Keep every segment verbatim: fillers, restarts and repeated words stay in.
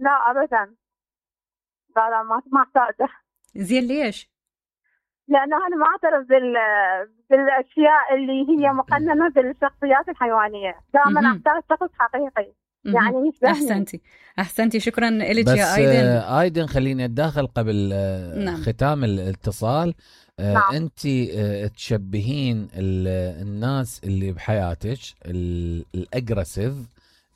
لا ابدا. لا لا ما ما احتاجه. زين ليش؟ لانه انا ما اعترف بال بالاشياء اللي هي مقننه بالشخصيات الحيوانيه، دائما مهم. احتاج شخص حقيقي مهم. يعني يشبهني. احسنتي احسنتي شكرا لك بس يا ايدن. آه، ايدن خليني اتداخل قبل آه، نعم. ختام الاتصال. آه، نعم. انت آه، تشبهين ال- الناس اللي بحياتك ال- الاجريسيف،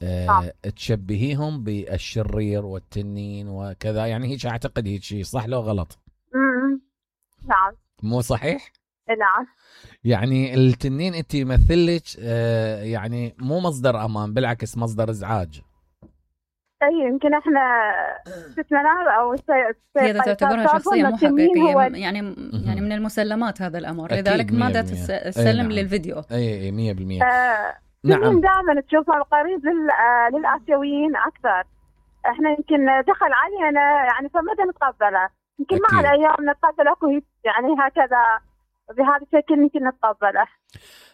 آه، نعم. تشبهيهم بالشرير والتنين وكذا، يعني هيك اعتقد هيك شيء، صح لو غلط؟ امم نعم. مو صحيح؟ نعم. يعني التنين انت يمثلك آه، يعني مو مصدر امان، بالعكس مصدر ازعاج. اي يمكن احنا استثناء او هي تعتبرها شخصية مو حقيقية، يعني يعني من المسلمات هذا الأمر، لذلك ماذا تسلم نعم. للفيديو. اي مية بالمية. آه نعم. دائما تشوفها قريب لل... آه للآسيويين أكثر. احنا يمكن دخل علينا يعني فمدى نتقبله، يمكن مع الأيام نتقبل اكو يعني هكذا بهذا الشكل يمكن نتقبله.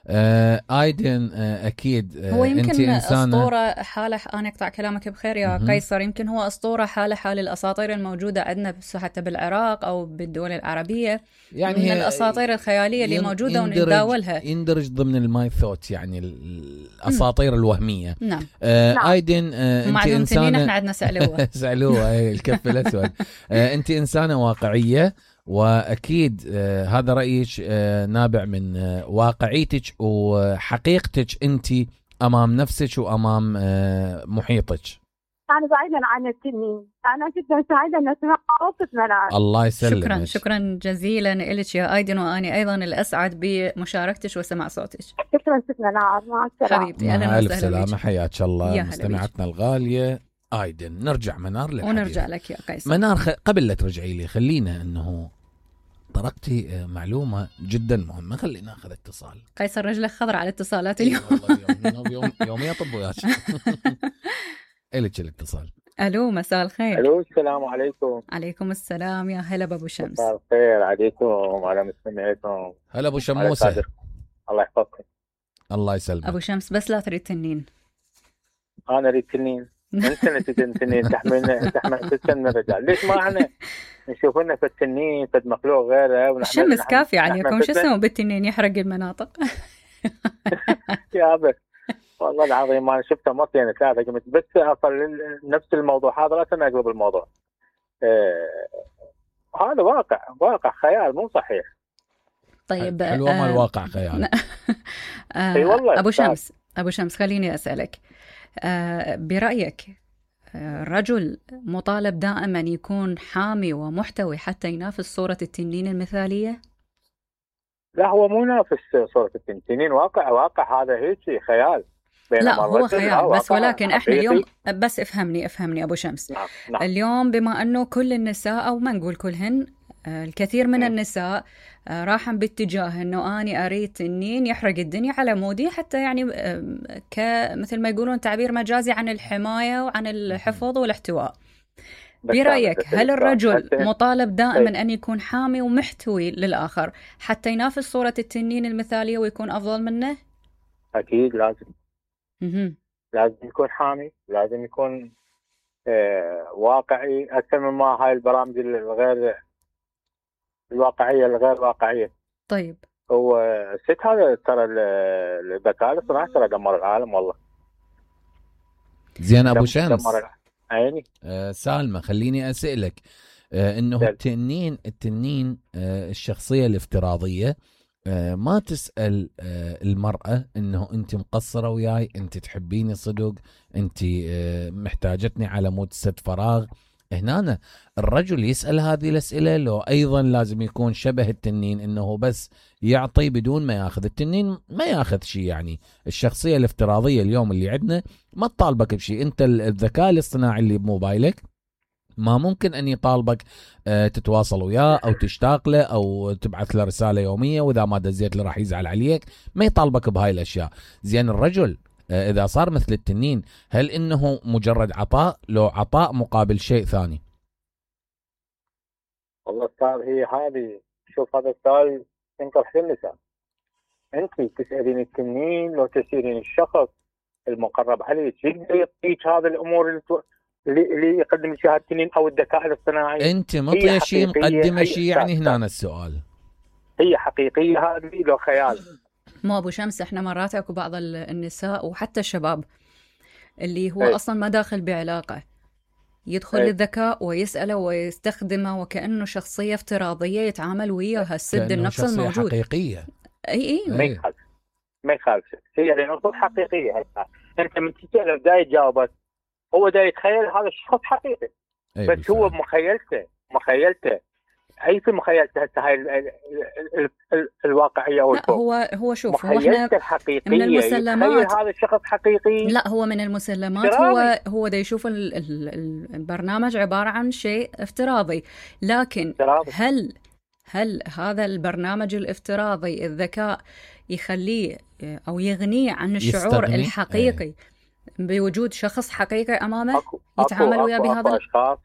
آه ايدن آه اكيد آه هو يمكن انت إنسانة اسطوره حاله. انا اقطع كلامك بخير يا م- قيصر. يمكن هو اسطوره حاله حال الاساطير الموجوده عندنا حتى بالعراق او بالدول العربيه، يعني من الاساطير الخياليه اللي موجوده ونتداولها، يندرج ضمن الماي ثوت، يعني الاساطير م. الوهميه. نعم. آه نعم. ايدن آه انت انسانه، احنا عندنا سالوه سالوه اي الكف الاسود. آه انت انسانه واقعيه، واكيد آه هذا رايك آه نابع من آه واقعيتك وحقيقتك انت امام نفسك وامام آه محيطك. انا بعيدا عن التنين، انا جدا سعيده ان اسمع صوتك منال. الله يسلمك. شكرا شكرا جزيلا لك يا ايدن، واني ايضا الاسعد بمشاركتك وسماع صوتك. شكرا ست منال، مع السلامه حبيبتي. مع الف سلامه، حياك الله مستمعتنا بيك. الغاليه ايدن. نرجع منار للحديث. ونرجع لك يا قيصر. منار خ... قبل لا ترجعي لي خلينا انه طرقتي معلومه جدا مهمه، خلينا ناخذ اتصال. قيصر رجله خضر على الاتصالات اليوم. يوم يوم يوم يطب وياك. الك الاتصال. الو مساء الخير. الو السلام عليكم. عليكم السلام، يا هلا بابو شمس. مساء الخير عليكم وعلى مستمعيكم. هلا ابو شموسه. الله يحفظكم. الله يسلمك ابو شمس. بس لا تريد تنين. انا اريد تنين. انت نتيجه تنين تحملنا تحمل ست من الرجال. ليش ما احنا نشوف لنا في التنين في مخلوق غيره ونحمل الشمس كافي عليكم، شو اسمه بالتنين يحرق المناطق. يا ابد والله العظيم انا شفتها مرتين ثلاثه قمت بس اصل نفس الموضوع هذا لا تناقض بالموضوع. آه هذا واقع واقع خيال مو صحيح. طيب حلوه ما الواقع خيال. آه اي والله. ابو شمس ابو شمس خليني اسالك، آه برايك الرجل مطالب دائما يكون حامي ومحتوي حتى ينافس صوره التنين المثاليه؟ لا هو مو نافس صورة التنين، واقع واقع هذا هيك خيال. لا هو خيال بس، ولكن احنا اليوم بس افهمني افهمني ابو شمس. نعم. نعم. اليوم بما انه كل النساء او ما نقول كلهن، الكثير من م. النساء راحن باتجاه انه اني اريد تنين يحرق الدنيا على مودي، حتى يعني كمثل ما يقولون تعبير مجازي عن الحماية وعن الحفظ والاحتواء. برأيك هل الرجل مطالب دائما أن يكون حامي ومحتوي للآخر حتى ينافس صورة التنين المثالية ويكون أفضل منه؟ أكيد لازم. م-م. لازم يكون حامي، لازم يكون آه واقعي أكثر مما هاي البرامج الغير الواقعية الغير واقعية. طيب هو الست هذا ترى الذكاء الاصطناعي ترى دمر العالم والله. زين أبو شمس عيني. آه سالمة خليني أسألك آه إنه دل. التنين التنين آه الشخصية الافتراضية آه ما تسأل آه المرأة إنه أنت مقصرة وياي، أنت تحبيني صدق، أنت آه محتاجتني على مود سد فراغ. هنا الرجل يسأل هذه الأسئلة، لو أيضا لازم يكون شبه التنين إنه بس يعطي بدون ما ياخذ. التنين ما ياخذ شيء، يعني الشخصية الافتراضية اليوم اللي عندنا ما تطالبك بشيء. أنت الذكاء الاصطناعي اللي بموبايلك ما ممكن أن يطالبك أه تتواصل وياه أو تشتاق له أو تبعث له رسالة يومية، وإذا ما دزيت له راح يزعل عليك، ما يطالبك بهاي الأشياء. زين الرجل إذا صار مثل التنين هل إنه مجرد عطاء، لو عطاء مقابل شيء ثاني؟ والله صار هي هذه. شوف هذا السؤال ينطرح للنساء. أنت تسألين التنين لو تسألين الشخص المقرب عليك يقدر يعطيك هذه الأمور اللي اللي يقدم شهاده التنين او الذكاء الاصطناعي. انت مطيه شيء مقدمه شيء، يعني هنا السؤال هي حقيقيه هذه لو خيال؟ مو ابو شمس، احنا مرات اكو بعض النساء وحتى الشباب اللي هو أي. اصلا ما داخل بعلاقه، يدخل أي. للذكاء ويساله ويستخدمه وكانه شخصيه افتراضيه يتعامل وياها، السد النفس الموجود حقيقيه. اي اي ما يخالف ما يخالف هي لانه حقيقيه. هسه انت من تساله دا يجاوبك، هو دا يتخيل هذا الشخص حقيقي. أي بس بالفعل. هو مخيلته مخيلته هي في مخيلته هسه هاي ال ال ال الواقعيه او لا هو هو شوف، هو مخيلته احنا الحقيقيه من المسلمات هذا الشخص حقيقي. لا هو من المسلمات افتراضي. هو هو دا يشوف ال ال البرنامج عباره عن شيء افتراضي، لكن افتراضي. هل هل هذا البرنامج الافتراضي الذكاء يخليه او يغنيه عن الشعور يستغني؟ الحقيقي ايه. بوجود شخص حقيقي امامه أكو يتعامل أكو وياه أكو بهذا أكو ال... اشخاص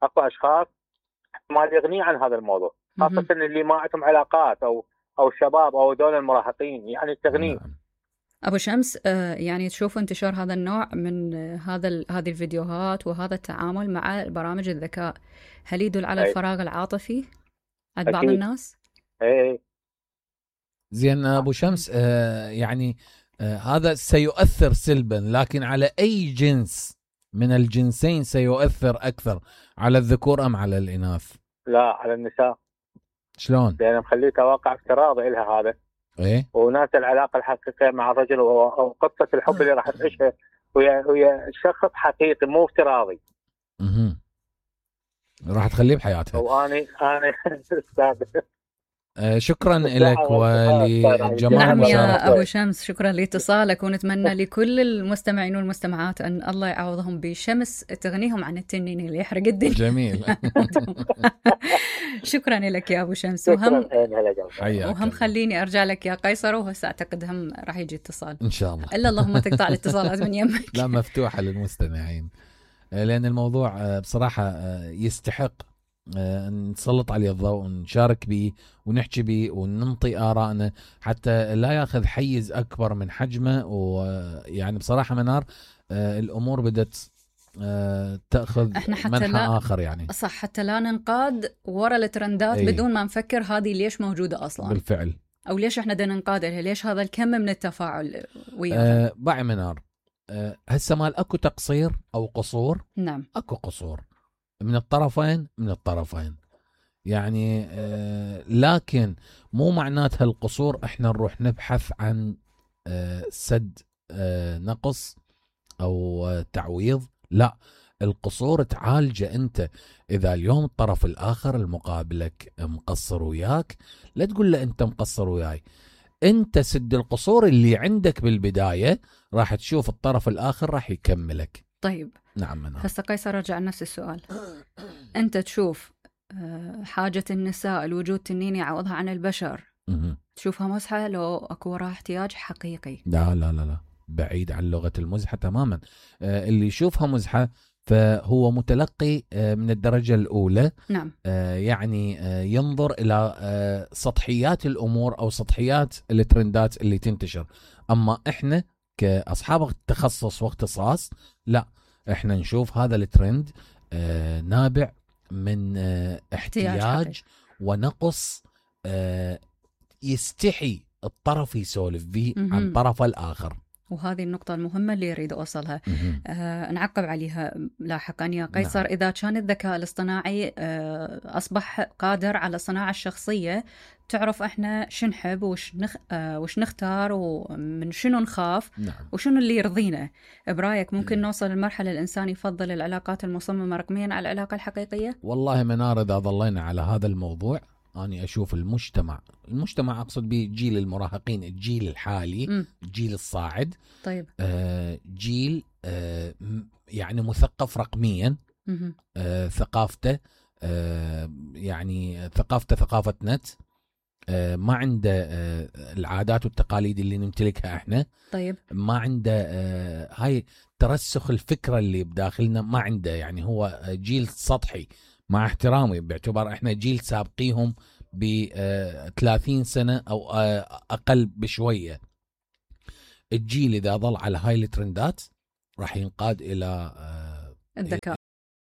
اكو اشخاص ما يغني عن هذا الموضوع، خاصه اللي ما عندهم علاقات او او شباب او دول المراهقين، يعني تغني. نعم. ابو شمس، آه يعني تشوف انتشار هذا النوع من آه هذا ال... هذه الفيديوهات وهذا التعامل مع برامج الذكاء، هل يدل على أي. الفراغ العاطفي عند بعض أكيد. الناس؟ ايه زين ابو شمس، آه يعني آه هذا سيؤثر سلبا، لكن على اي جنس من الجنسين سيؤثر اكثر، على الذكور ام على الاناث؟ لا على النساء. شلون؟ لان مخليتها واقع افتراضي لها هذا، ايه وناس العلاقه الحقيقيه مع الرجل او قصه الحب اللي راح تعيشها ويا ويا شخص حقيقي مو افتراضي. اها راح تخليه بحياتها. واني انا استاذ آه شكرا لك ولجمال نعم مشاركتك. يا ابو شمس، شكرا لاتصالك، ونتمنى لكل المستمعين والمستمعات ان الله يعوضهم بشمس تغنيهم عن التنين اللي يحرق الدنيا. جميل. شكرا لك يا ابو شمس. وهم حياك وهم خليني ارجع لك يا قيصر، وهسه اعتقد هم راح يجي اتصال ان شاء الله. الا اللهم تقطع الاتصالات من يمك. لا مفتوحه للمستمعين، لان الموضوع بصراحه يستحق نسلط عليه الضوء ونشارك به ونحكي به وننطي آرائنا حتى لا ياخذ حيز أكبر من حجمه. ويعني بصراحة منار الأمور بدت تأخذ منحى لا آخر، يعني صح، حتى لا ننقاد ورا الترندات أي. بدون ما نفكر هذه ليش موجودة أصلا بالفعل، أو ليش إحنا بدنا ننقاد لها، ليش هذا الكم من التفاعل وياها. أه باعي منار، أه هسه مال أكو تقصير أو قصور؟ نعم أكو قصور من الطرفين من الطرفين يعني، آه لكن مو معناتها القصور احنا نروح نبحث عن آه سد آه نقص او آه تعويض. لا، القصور تعالجه انت. اذا اليوم الطرف الاخر المقابلك مقصر وياك، لا تقول له انت مقصر وياي، انت سد القصور اللي عندك بالبداية، راح تشوف الطرف الاخر راح يكملك. طيب نعم منار. هسه قيصر رجع نفس السؤال، انت تشوف حاجة النساء الوجود تنين يعوضها عن البشر، م- تشوفها مزحة لو اكو وراها احتياج حقيقي؟ لا لا لا لا، بعيد عن لغة المزحة تماما. آه اللي يشوفها مزحة فهو متلقي آه من الدرجة الأولى. نعم. آه يعني آه ينظر إلى آه سطحيات الأمور أو سطحيات الترندات اللي تنتشر. أما إحنا كأصحاب تخصص واختصاص، لا، إحنا نشوف هذا الترند آه نابع من آه احتياج ونقص آه يستحي الطرف يسولف به عن الطرف الآخر. وهذه النقطة المهمة اللي يريد أوصلها. آه نعقب عليها لاحقا يا قيصر. نعم. إذا كان الذكاء الاصطناعي آه أصبح قادر على صناعة الشخصية، تعرف إحنا شو نحب وش, نخ... آه وش نختار ومن شنو نخاف. نعم. وشنو اللي يرضينا. برأيك ممكن م. نوصل للمرحلة الإنسان يفضل العلاقات المصممة رقميا على العلاقة الحقيقية؟ والله منار، إذا ظلينا على هذا الموضوع أنا أشوف المجتمع المجتمع أقصد به جيل المراهقين، الجيل الحالي، م. الجيل الصاعد. طيب. آه جيل آه يعني مثقف رقميا. آه ثقافته آه يعني ثقافته ثقافة نت. آه ما عنده آه العادات والتقاليد اللي نمتلكها احنا. طيب. ما عنده آه هاي ترسخ الفكرة اللي بداخلنا، ما عنده. يعني هو جيل سطحي مع احترامي، باعتبار احنا جيل سابقيهم ب ثلاثين سنة او اقل بشوية. الجيل اذا ظل على هاي الترندات راح ينقاد الى الذكاء.